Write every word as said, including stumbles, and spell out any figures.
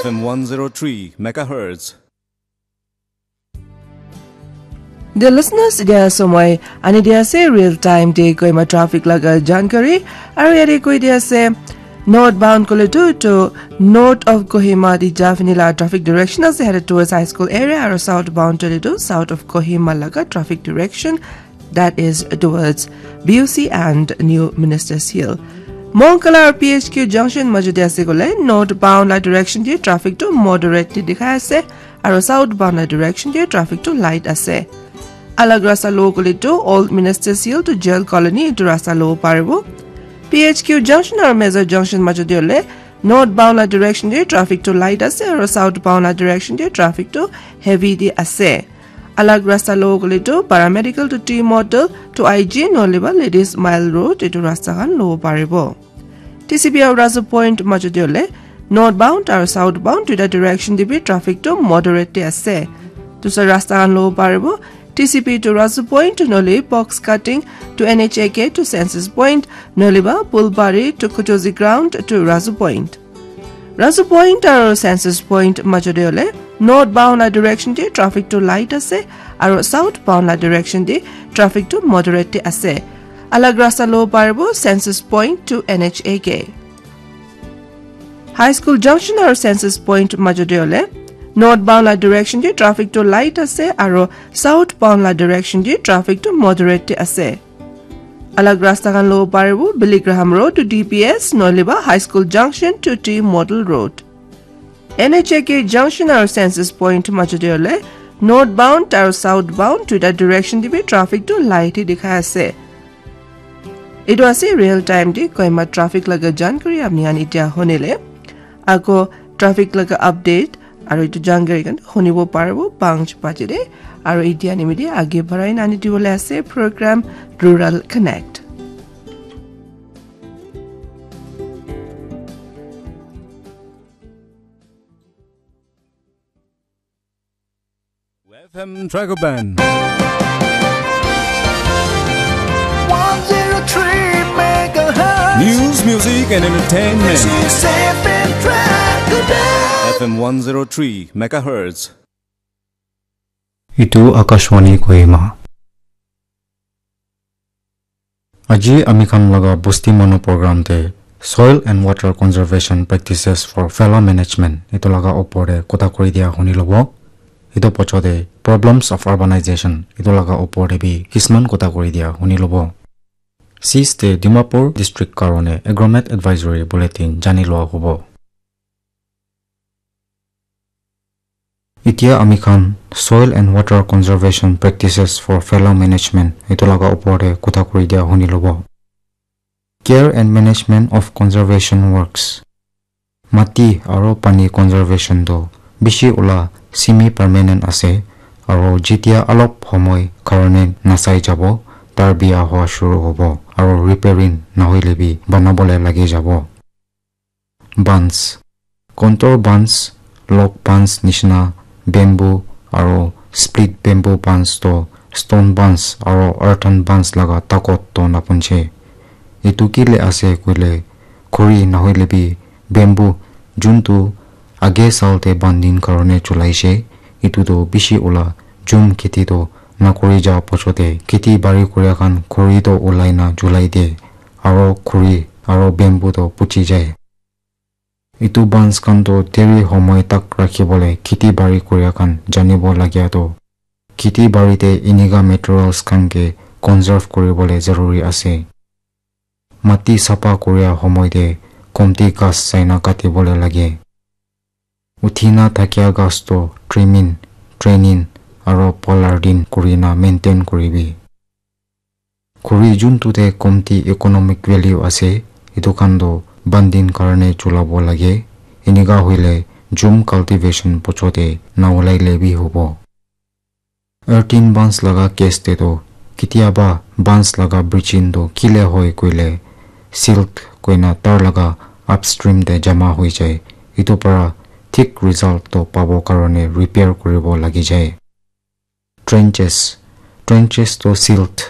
F M one zero three megahertz. The listeners, dia somoi ani dia ase real time de Kohima traffic laga jankari, aru yate koi dia ase northbound koile tu to north of Kohima di ja fini la traffic direction ase headed towards high school area, aru southbound koile tu south of Kohima laga traffic direction, that is towards B U C and New Minister's Hill. Monkala aru P H Q junction majo de ase koile northbound la direction de traffic tu moderate de dikhai ase, aru southbound la direction de traffic tu light ase. Alag rasta lo koile tu Old Minister's Hill to Jail Colony etu rasta lo paribo. P H Q junction aru Major junction majo de hoile northbound la direction de traffic tu light ase, aru southbound la direction de traffic tu heavy de ase. Alag rasta lo koile tu Paramedical to T Model to I G nohole ba Ladies Mile Road etu rasta khan lo paribo. T C P aru Rasu Point majo de hoile northbound aru southbound duita direction de bi traffic tu moderate de ase. Dusra rasta khan lo paribo, T C P to Rasu Point nohole box cutting to N H A K to Census Point nohole ba Pulbari to Kuchozi Ground to Rasu Point. Rasu Point aru Census Point majo de hoile northbound la direction de traffic tu light ase, aru southbound la direction de traffic tu moderate de ase. Alag rasta lo paribo Census Point to N H A K. High School junction aru Census Point majo de hoile northbound la direction de traffic tu light ase, aru southbound la direction de traffic tu moderate de ase. Alag rasta khan lo paribo Billy Graham Road to D P S nohole ba High School junction to T Model Road. N H A K junction aru Census Point majo de hoile northbound aru southbound duita direction de bi traffic tu light de dikhai ase. Etu ase real time de Kohima traffic laga jankari apni khan etia hunile. Ako traffic laga update aru etu jankari khan hunibo paribo panch baje de. Aru etia nimite age barai nani dibole ase program Rural Connect. F M Dragoban. One zero three megahertz. News, music, and entertainment. This is F M Dragoban. F M one zero three megahertz. Itu Akashvani Kohima. Aji ami khan laga Bosti Manu program te Soil and Water Conservation Practices for Failure Management itu laga opor te kotha kuri dia huni lobo. Itu pocho te Problems of Urbanization itu laga opor te bi kisman kotha kuri dia huni lobo. Sis te Dimapur District karone Agromet Advisory Bulletin jani loa hobo. Itya ami khan Soil and Water Conservation Practices for Failure Management itu laga opor te kotha kuri dia huni lobo. Care and Management of Conservation Works. Mati aro pani conservation to bishi ula semi permanent ase, aro jitia alop homoi karone nasai jabo, tar bia hoa shuru hobo, aro repairing nahoile bi banabole lagi jabo. Bans. Contour bans, log bans nishina bamboo aro split bamboo bans to stone bans aro earthen bans laga takot to napunche. Etu kile ase koile khuri nahoile bi bamboo juntu age sal te banding karone chulaishe, etu to bishi ula jum kheti to nakuri ja pochote kheti bari kuria khan khuri to ulai na julai de aro khuri aro bamboo to puchi jai. Etu bans khan to deri homoi tak rakhi bole kheti bari kuria khan janibo lagia to kheti bari te enika materials khan ke conserve kuri bole zaruri ase. Mati sapha kuria homoi te komti ghas saina kati bole lage. Uthina thakia ghas to trimming, training aro pollarding kurina maintain kuribi. Khuri juntu te komti economic value ase, etu khan to banding karone chulabo lage. Enika hoile jum cultivation pochote na ulaile bi hobo. Earthen bans laga case te to kitiaba bans laga breaching to kile hoi koile silt koina tar laga upstream te jama hoi jai. Etu para thik result to pabo karone repair kuribo lagi jai. Trenches. Trenches to silt